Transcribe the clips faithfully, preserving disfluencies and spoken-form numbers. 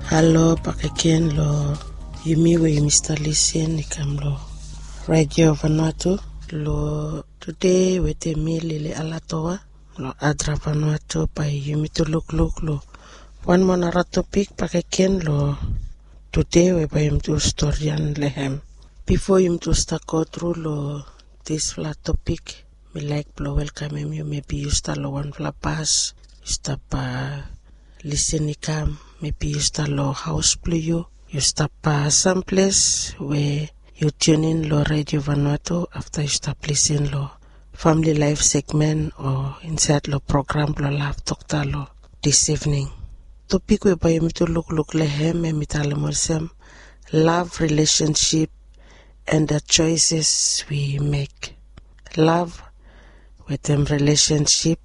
Halo bakegen lo yumi we yumi stap lisin i kam lo Radio Vanuatu lo tude wetem mi Lily Alatoa lo Adra Vanuatu. Bae yumi tu lukluk lo wan moa nara topik bakegen lo tude we bae yumi tu storian lo hem. Bifo yumi tu stap gotru lo disfala topik, mi laek blo welkamem yu. Mebi yu stap lo wanfala bas, yu stap lisin i kam, mebi yu stap lo haos blo yu, yu stap samples we yu tiunin lo Radio Vanuatu afta yu stap lisin lo famili laef segmen o insaed lo program blo Lav Tokta lo dis ivning. Topik we bae yumi tu lukluk lo hem hemi talem olsem, lav, rilesensip and the choices we make. Lav wetem rilesensip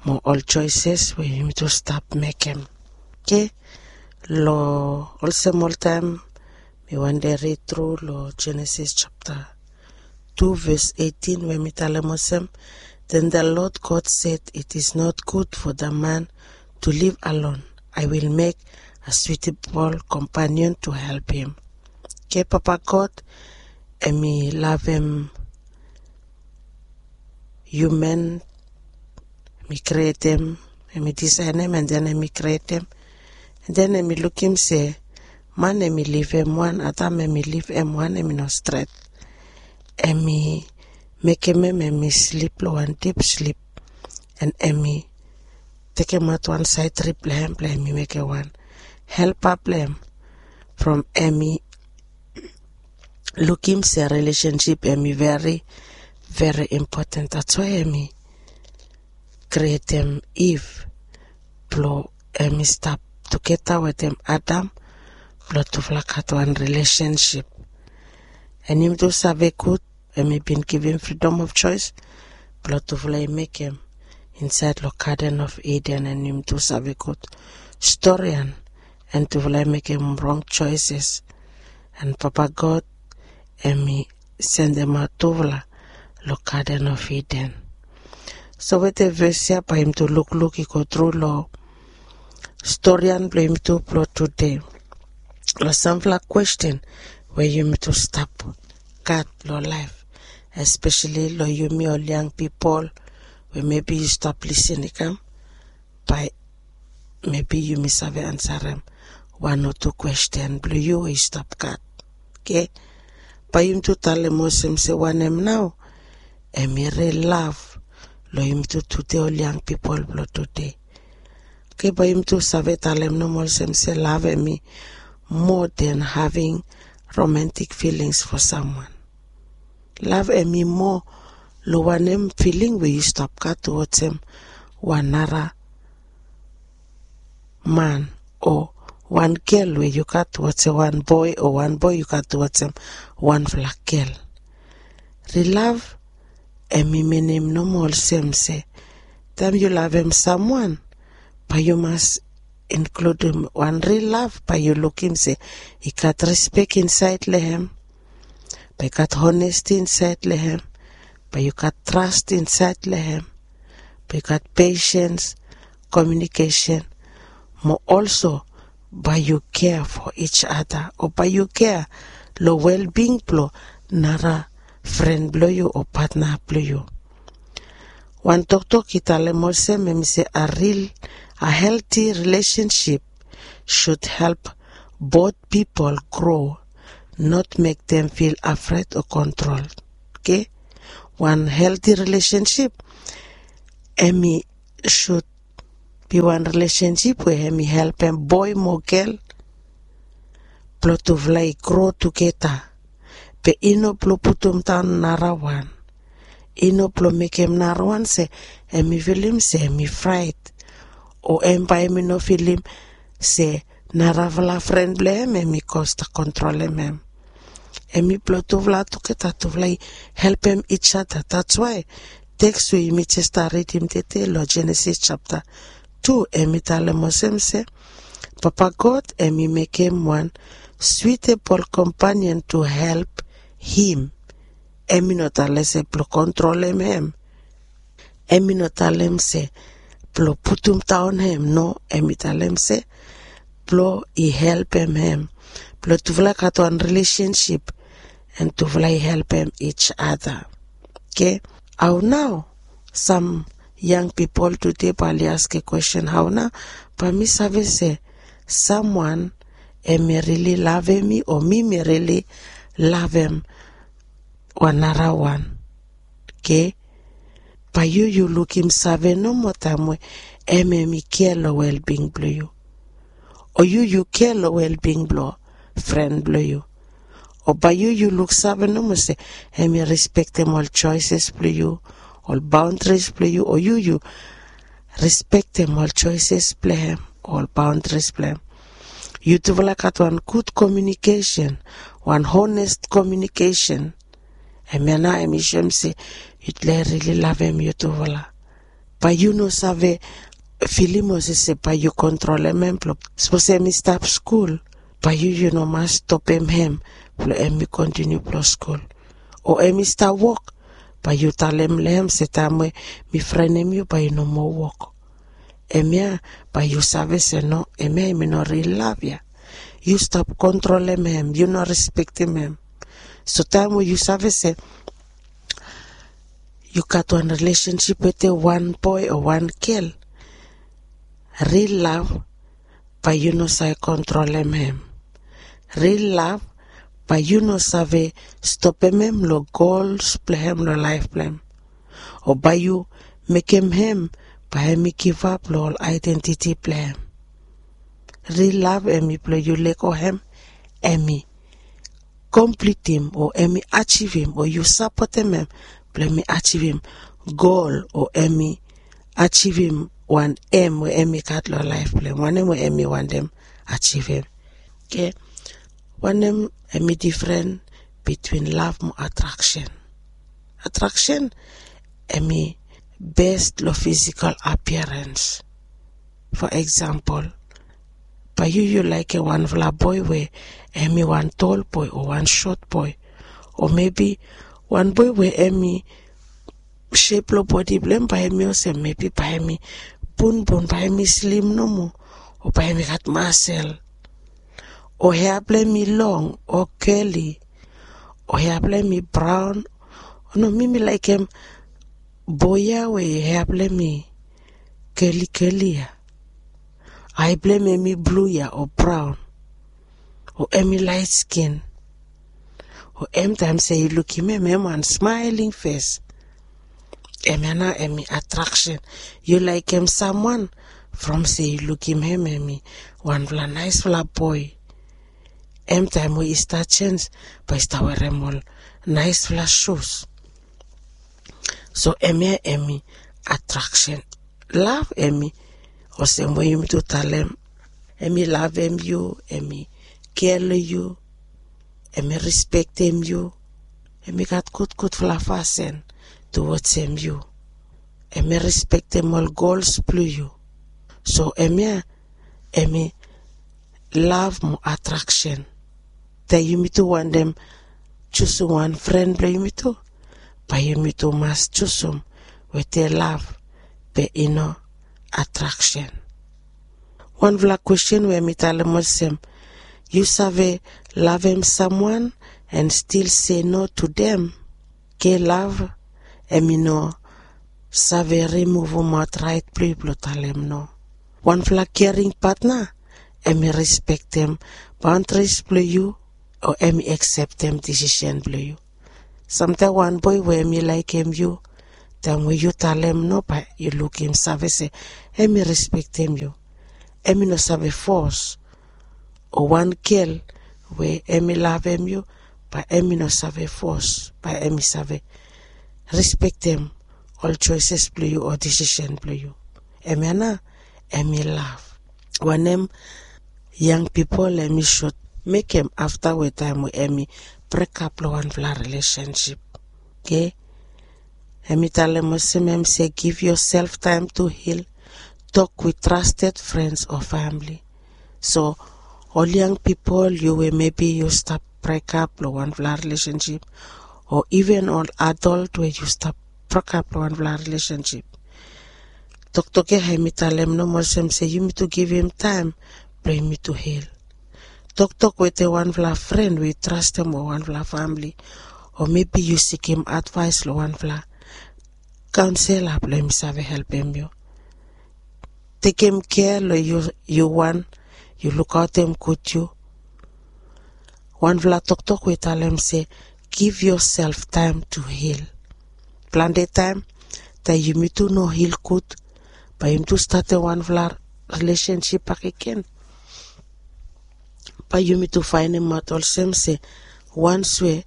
mo ol choices we yumi tu stap mekem. Oke, lo olsem oltaem mi wande rid tru lo Genesis japta tu ves eitin we mi talem olsem, then the Lord God said, it is not good for the man to live alone. I will make a suitable companion to help him. Oke, Papa God hemi lavem hiuman, hemi krietem, hemi disaenem and then hemi krietem. And then hemi lukim se man hemi livem wan, Adam hemi livem wan, hemi no stret. Hemi mekem hem hemi slip lo wan dip slip. And hemi tekemaot wan saed rib blo hem blo hemi mekem wan helpa blo hem. From hemi lukim se rilesensip hemi veri veri impoten, that's why hemi krietem Iv blo hemi stap tugeta wetem Adam blo tufala gat wan rilesensip. And yumi tu save gud hemi bin givim freedom of choice blo tufala i mekem insaed lo Garden of Eden. And yumi tu save gud storian, and tufala i mekem rong choices. And Papa God hemi sendemaot tufala lo Garden of Eden. So wetem ves ya bae yumi tu lukluk i go tru lo storian blo yumi tu blo tude. Lo samfala kwesten we yumi tu stap gat lo laef, espeseli lo yumi ol yang pipol we mebi yu stap lisin i kam, bae mebi yumi save ansarem wan o tu kwesten blo yu we yu stap gat. Oke, bae yumi tu talem olsem se wanem nao hemi ril lav lo yumi tu tude ol yang pipol blo tude. Oke, bae yumi tu save talem nomo olsem se lav hemi moa than having romantic feelings for someone. Lav hemi moa lo wanem filing we yu stap gat towajem wan nara man, o wan gel we yu gat towajem wan boe, o wan boe yu gat towajem wanfala gel. Ril lav hemi minim nomo olsem se taem yu lavem samwan, bae yu mas inkludim wan ril lav, bae yu lukim se i gat rispek insaed lo hem, bae i gat onesti insaed lo hem, bae yu gat tras insaed lo hem, bae i gat pesens, komiunikesen, mo olso bae yu kea fo each other, o bae yu kea lo welbing blo nara fren blo yu o patna blo yu. Wan toktok i talem olsem, hemi se a ril, a helti rilesensip should help both pipol grow, not mek dem fil afred o kontrol. Oke, wan helti rilesensip hemi sud bi wan rilesensip we hemi helpem boe mo gel blo tufala i gro tugeta, be i no blo putumdaon narawan. I no blo mekem narawan se hemi filim se hemi fraet, o hem bae hemi no filim se narafala fren blo hem hemi go stap kontrolem hem. Hemi blo tufala tugeta, tufala i helpem each other. That's why teks we yumi jes stap ridim tede lo Genesis japta tu hemi talem olsem se Papa God hemi mekem wan suitable companion to help him. Hemi no talem se blo kontrolem hem. Hemi no talem se blo putumdaon hem. No, hemi talem se blong i helpem hem, blong tufala i gat wan rilesensip, and tufala i helpem each other. Okay. Hao nao sam yang pipol tude bae oli askem kwestin, hao nao bae mi save se samwan hem i rili lavem mi o mi mi rili lavem wan narawan? Okay. Bae yu yu lukim save nomo taem we hem hem i kea long welbing blong yu, o yu yu kea long welbing blong fren blong yu, o bae yu yu luksave nomo se hem i respektem ol joeses blong yu, ol baondaris blong yu, o yu yu respektem ol joeses blong hem, ol baondaris blong hem. Yutufala gat wan gud komiunikesen, wan honest komiunikesen. Hemia nao hem i soem se yutufala i rili lavem yutufala. Bae yu no save filim olsem se bae yu kontrolem hem blong sapos hem i stap skul, bae yu yu no mas stopem hem blong hem i kontiniu blong skul. O hem i stap wok, bae yu talem long hem se taem we mi frenem yu bae yu no moa wok. Hemia bae yu save se no, hemia hem i no ril lav ya. Yu stap kontrolem hem, yu no respektem hem. So taem we yu save se yu gat wan rilesensip wetem wan boe o wan gel, ril lav bae yu no save kontrolem hem. Ril lav bae yu no save stopem hem long gols blong hem long laef blong hem, o bae yu mekem hem bae hem i givap long ol aedentiti blong hem. Ril lav hem i blong yu lego hem hem i komplitim o hem i ajivim, o yu sapotem hem blong hem i ajivim gol, o hem i ajivim wan hem we hem i gat long laef blong hem, wanem we hem i wantem ajivim. Okay. Wanem hem i difren bitwin lav mo atraksen? Atraksen hem i bes long fisikal apiarens. Fo eksampol, bae yu yu laekem wanfala boe we hem i wan tol boe o wan sot boe, o mebi wan boe we hem i sep blong bodi blong hem bae hem i olsem, mebi bae hem i bunbun, bae hem i slim nomo, o bae hem i gat masel, o hea blong hem i long o keli, o hea blong hem i braon. O no, mi mi laekem boe ya we hea blong hem i kelikeli ya, ae blong hem hem i blu ya o braon, o hem i laet skin, o hem taem se yu lukim hem hem wan smaeling fes. Hemia nao hem i atraksen. Yu laekem samwan from se yu lukim hem hem i wanfala naesfala boe. Hem taem we i stap jenis bae i stap werem ol naesfala sus. So hemia hem i atraksen. Lav hem i olsem we yumi tu talem, hem i lavem yu, hem i kea long yu, hem i respektem yu, hem i gat gudgudfala fasin tuwodsem yu, hem i respektem ol gols blong yu. So hemia hem i lav mo atraksen. Taem yumi tu wantem jusum wan fren blong yumi tu, bae yumi tu mas jusum wetem lav, be i no atraksen. Wanfala kwestin we mi talem olsem, yu save lavem samwan and stil se no tu dem? Ke lav hem i no save rimuvumaot raet blong yu blong talem no. Wanfala kering patna hem i respektem baondaris blong yu, o hem i akseptem desisen blong yu. Samtaem wan boe we hem i laekem yu, taem we yu talem no bae yu lukim save se hem i respektem yu. Hem i no save fos. O wan gel we hem i lavem yu, bae hem i no save fos, bae hem i save respektem ol joeses blong yu o desisen blong yu. Hemia nao hem i lav. Wanem yang pipol hem i sud mekem afta we taem we hem i brekap long wanfala rilesensip? Okay. Hem i talem olsem, hem se give yourself time to heal, tok with trusted friends or family. So ol yang pipol, yu we mebi yu stap brekap long wanfala rilesensip, o iven ol adol we yu stap brekap long wanfala rilesensip, toktok ya hem i talem nomo olsem se yumi tu givim taem blong yumitu hil. Toktok wetem wanfala fren we yu trastem o wanfala famili, o mebi yu sikim advaes long wanfala kaonsela blong em i save helpem yu. Tekem kea long yu wan, yu lukaotem gud yu. Wanfala toktok we i talem se, giv yoself taem tu hil. Plante taem taem yumitu no hil gud, bae yumitu statem wanfala rilesensip bakegen. Bae yumitu faenemaot olsem se, wans we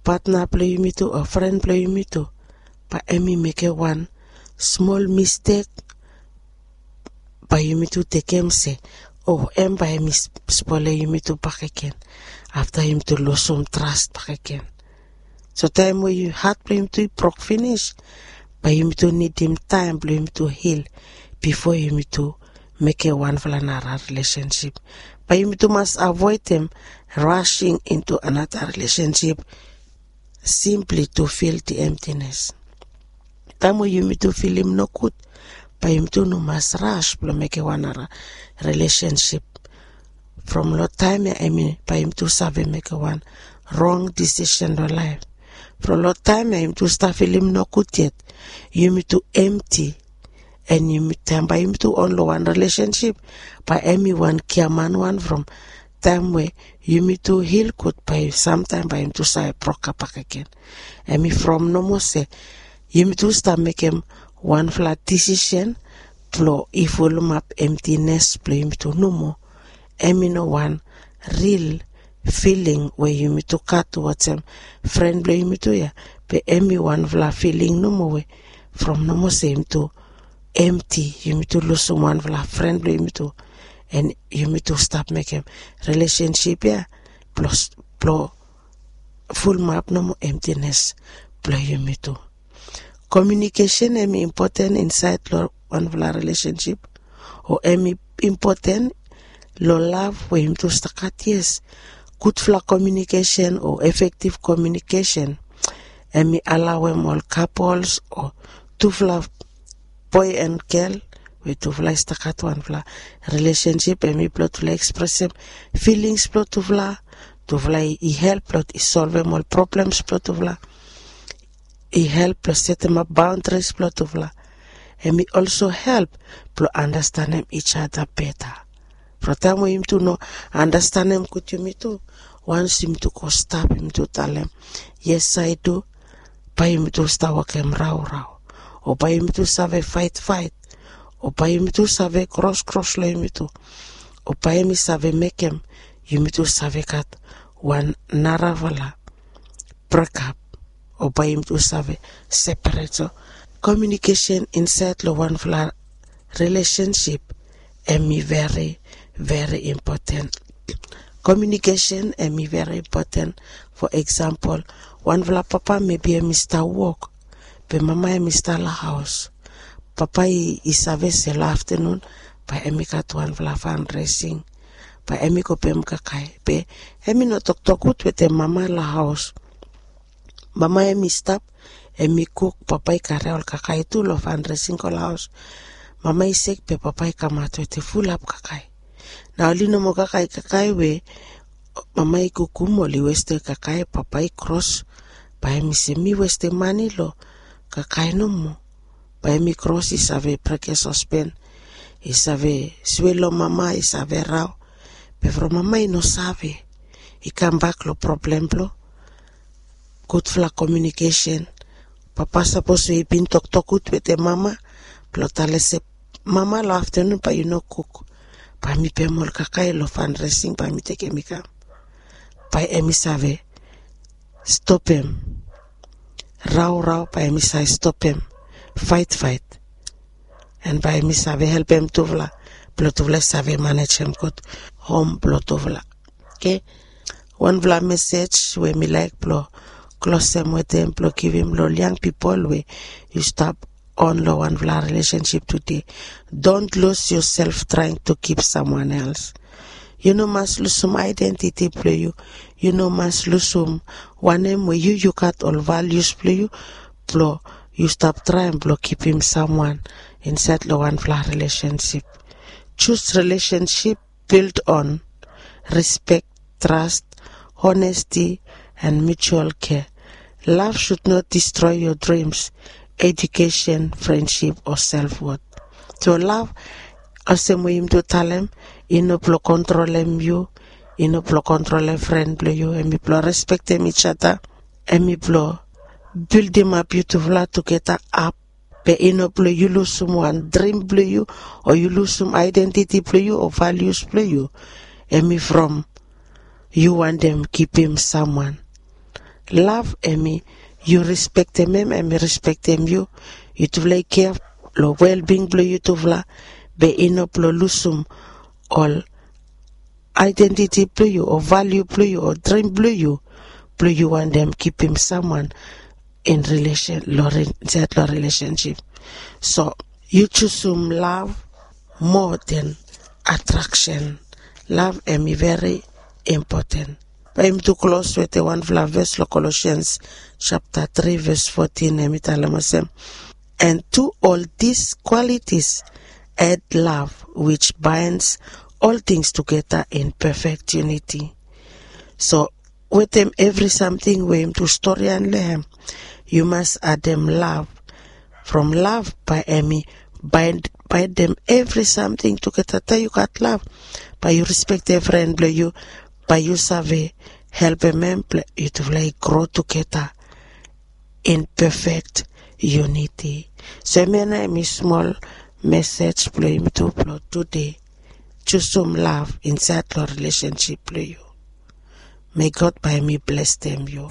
patna blong yumitu o fren blong yumitu bae em i mekem wan smol mistek, bae yumitu tekem se, o em bae em i spolem yumitu bakegen. Afta yumitu lusum tras bakegen. So taem we hat blong yumitu i brok finis, bae yumitu nidim taem blong yumitu hil bifo yumitu mekem wanfala nara rilesensip. Bae yumitu mas avoedem rasing intu anata rilesensip simpli tu fil di emtines. Taem we yumitu filim nogud, bae yumitu no mas ras blong mekem wan nara rilesensip. From long taem ya em i bae yumitu save mekem wan rong disisen long laef. From long taem ya yumitu stap filim nogud yet, yumitu emti. An taem bae yumitu on long wan rilesensip, bae em i wan giaman wan from taem we yumitu hil gud, bae samtaem bae yumitu save brokap bakegen. Em i from nomo se yumitu stap mekem wanfala disisen blong i fulumap emtines blong yumitu nomo. Em i no wan ril filing we yumitu gat wantaem fren blong yumitu ya. Be em i wanfala filing nomo we from nomo se yumitu emti, yumitu lusum wanfala fren blong yumitu, an yumitu stap mekem rilesensip ya blong fulumap nomo emtines blong yumitu. Komiunikesen em i impoten insaed long wanfala rilesensip, o em i impoten long lav we yumitu stap gat? Yes. Gudfala komiunikesen o efektif komiunikesen em i alaoem ol kapols o tufala boe an gel we tufala i stap gat wanfala rilesensip, em i blong tufala i ekspresem filings blong tufala. Tufala i help blong i solvem ol problems blong tufala. I help blong setemap baondaris blong tufala. Em i olso help blong andastanem ij ada beta. From taem we yumitu no andastanem gud yumitu, wans yumitu go stap yumitu talem, yes, I do, bae yumitu stap wokem raorao, o bae yumitu save faetfaet, o bae yumitu save kroskros long yumitu, o bae em i save mekem yumitu save gat wan narafala brekap, o bae yumitu save seperet. So komiunikesen insaed long wanfala rilesensip em i veri, veri impoten. Komiunikesen em i veri impoten. Fo eksampol, wanfala papa mebi em i stap wok, be mama em i stap long haos. Papa i save se long aftenun bae em i gat wanfala fanresing, bae em i go pem kakae, be em i no toktok gud wetem mama long haos. Mama em i stap, em i kuk, papa i karim ol kakae tu long fanresing go long haos. Mama i sek be papa i kamaot wetem fulap kakae. Nao oli no moa kakae, kakae we mama i kukum, oli westem kakae, papa i kros. Bae em i se mi westem mane long kakae nomo. Bae em i kros, i save brekem sospen, i save swelem mama, i save rao. Be from mama i no save, i kambak long problem blong gudfala komiunikesen. Papa sapos we i bin toktok gud wetem mama blong talem se, mama, long aftenun bae yu no kuk, bae mi pem ol kakae long fanresing, bae mi tekem i kam. Bae em i save stopem raorao, bae em i save stopem faetfaet, an bae em i save helpem tufala blong tufala i save manejem gud hom blong tufala. Oke. Wanfala mesej we mi laek blong klosem wetem blong givim long ol yang pipol we yu stap on long wanfala rilesensip tude. Don't lose yourself trying to keep someone else. Yu no mas lusum aedentiti blong yu. Yu no mas lusum wanem we yu, yu gat ol valius blong yu, blong yu stap traem blong kipim samwan insaed long wanfala rilesensip. Jus rilesensip build on respect, trust, honesty, and mutual care. Love should not destroy your dreams, education, friendship, or self-worth. So love, olsem we yumi tu talem, i no blong kontrolem yu, i no blong kontrolem fren blong yu. Em i blong respektem each other. Em i blong bildimap yutufala tugeta ap. Be i no blong yu lusum wan drim blong yu, o yu lusum aedentiti blong yu, o valius blong yu. Em i from yu wantem givim samwan. Lav em i yu respektem em, em i respektem yu. Yutufala i kea long welbing blong yutufala. Be i no blong lusum ol aedentiti blong yu, o valiu blong yu, o drim blong yu, blong yu wantem givim samwan in relesen long, insait long relesensip. So yu jusum lav moa den atraksen. Lav em i veri impoten. Bae yumi tu klos wetem wanfala ves long Kolosians japta tri ves fotin, em i talem olsem, and to all these qualities add love, which binds all things together in perfect unity. So wetem evri samting we yumi tu storian long hem, yu mas adem lav. From lav bae em i baindem evri samting tugeta. Taem yu gat lav, bae yu respektem fren blong yu, bae yu save helpem hem blong yutufala i gro tugeta in perfect unity. So hemia nao em i smol mesej blong yumi tu blong tude. Jusum lav insait long relesensip blong yu. Mei God bae mi blesem yu.